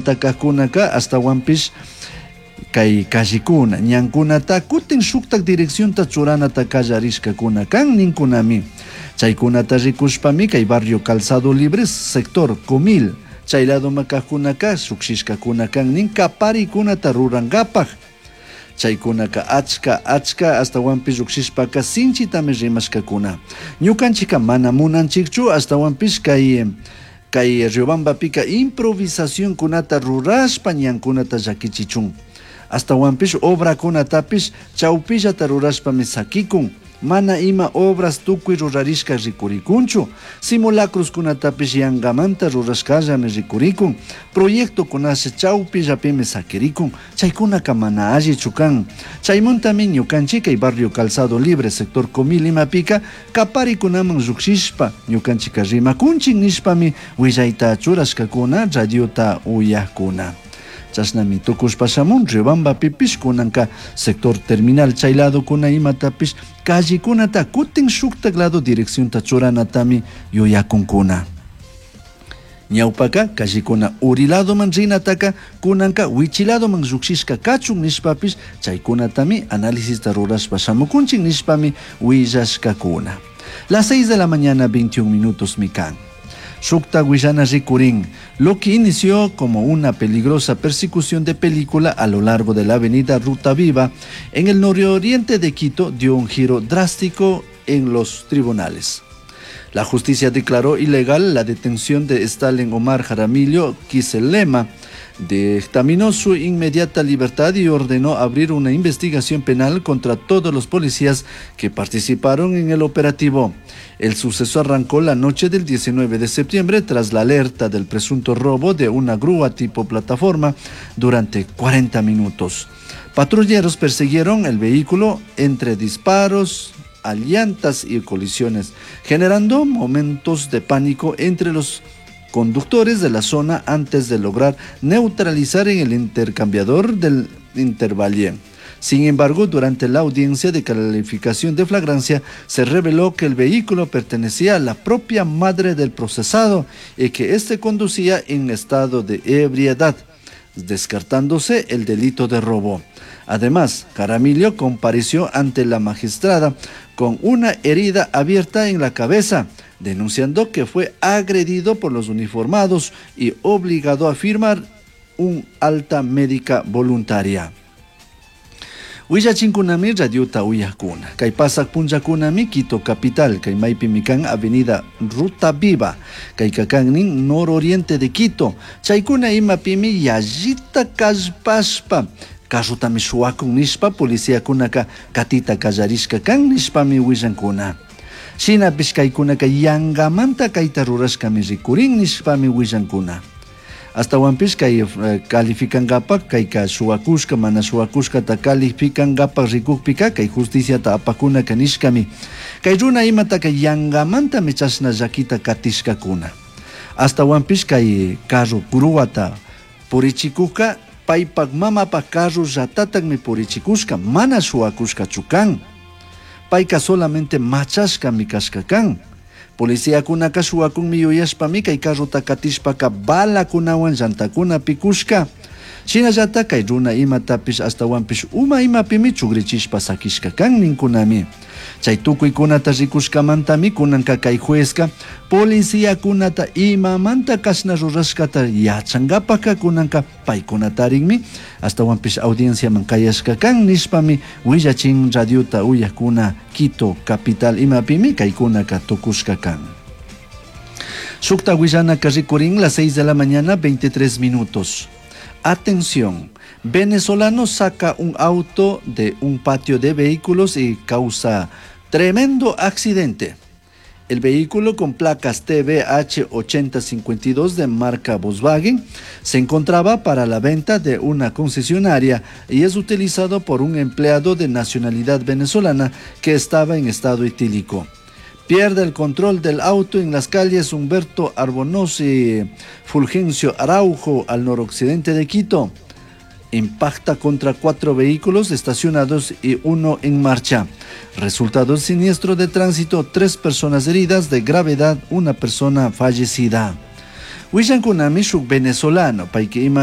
Cajcunaca ashtahuanpish cai callecuna, ñancunata cutin shujtaj direccionta churanata callarishcacuna can nincunami. Chaicunata ricushpami cai barrio Calzado Libres, sector Comil, chai ladoman cajcunaca llujshishcacuna can nin caparicunata rurangapaj. Chaicunaca achca achca ashtahuanpish llujshishpaca sinchitami rimashcacuna. Ñucanchijca mana munanchijchu ashtahuanpish cai cai Riobambapika improvisacioncunata rurashpa ñancunata llaquichichun. Ashtahuanpish obracunatapish chaupillata rurashpami saquicun. Mana ima obras tucui rurarishca ricuricunchu. Simulacroscunatapish yangamanta rurashcallami ricuricun. Proyectocunashi chaupillapimi saquiricun. Chaicunaca mana allichu can. Chaimantami ñucanchik kay barrio Calzado Libre sector Comil imapika caparicunaman llujshishpa ñucanchika rimacunchik nishpami huillaita churashcacuna radiota uyajcuna. Chashnami tucushpa shamun Riobambapipish kunanka sector terminal chay ladokuna imatapish callecunata cutin shuktak lado direccionta churanatami yuyakunkuna. Ñawpaka callecuna uri ladoman rinataka kunanka wichi ladoman llukshishka kachun nishpapish chaykunatami análisista rurashpa shamukunchik nishpami willashkakuna. Las 6 de la mañana 21 minutos mi kan. Shukta huillana rikurin, lo que inició como una peligrosa persecución de película a lo largo de la avenida Ruta Viva en el nororiente de Quito dio un giro drástico en los tribunales. La justicia declaró ilegal la detención de Stalin Omar Jaramillo Quiselema, dictaminó su inmediata libertad y ordenó abrir una investigación penal contra todos los policías que participaron en el operativo. El suceso arrancó la noche del 19 de septiembre tras la alerta del presunto robo de una grúa tipo plataforma durante 40 minutos. Patrulleros persiguieron el vehículo entre disparos, a llantas y colisiones, generando momentos de pánico entre los conductores de la zona antes de lograr neutralizar en el intercambiador del Intervalle. Sin embargo, durante la audiencia de calificación de flagrancia, se reveló que el vehículo pertenecía a la propia madre del procesado y que éste conducía en estado de ebriedad, descartándose el delito de robo. Además, Jaramillo compareció ante la magistrada con una herida abierta en la cabeza, denunciando que fue agredido por los uniformados y obligado a firmar un alta médica voluntaria. Willachinkunami radiota uyakuna. Kay pasak punllakunami Quito capital, kay maypimi kan avenida Ruta Viva, kay kakannin nororiente de Quito. Chaykuna imapimi yallita kallpashpa carrotami shuwakun nishpa policiakunaka katita kallarishka kan nishpami willankuna. Shinapish kaykunaka yangamanta kayta rurashkami rikurin nishpami willankuna. Ashtahuanpish kay calificangapak kayka shuwakushka mana shuwakushkata calificangapak rikukpika kay justiciata apakunaka nishkami. Kay runa imataka yangamantami chashna llakita katishkakuna. Ashtahuanpish kay carro gruata purichikukka paypak mamapak carro llatatakmi purichikushka mana shuwakushkachu kan. Payka solamente machashkami kashka kan. Policiakunaka shuwakunmi yuyashpami kay carrota katishpaka balakunawan llantakuna pikushka. Shinallata kay runa imatapish ashtahuanpish uma imapimi chugrichishpa sakishka kan ninkunami. Chay tukuykunata rikushkamantami kunanka kay juezka policiakunata imamanta kashna rurashkata yachankapaka kunanka paykunatarinmi ashtahuanpish audienciaman kayashka kan nishpami willachin radiota uyakuna Quito capital imapimi kaykunaka tukushka kan. Shukta willanaka rikurin las 6 de la mañana 23 minutos. Atención, venezolano saca un auto de un patio de vehículos y causa tremendo accidente. El vehículo con placas TBH 8052 de marca Volkswagen se encontraba para la venta de una concesionaria y es utilizado por un empleado de nacionalidad venezolana que estaba en estado etílico. Pierde el control del auto en las calles Humberto Arbonoz y Fulgencio Araujo al noroccidente de Quito. Impacta contra 4 vehículos estacionados y uno en marcha. Resultado del siniestro de tránsito, 3 personas heridas de gravedad, una persona fallecida. Huillancunami shuk venezolano, payka ima.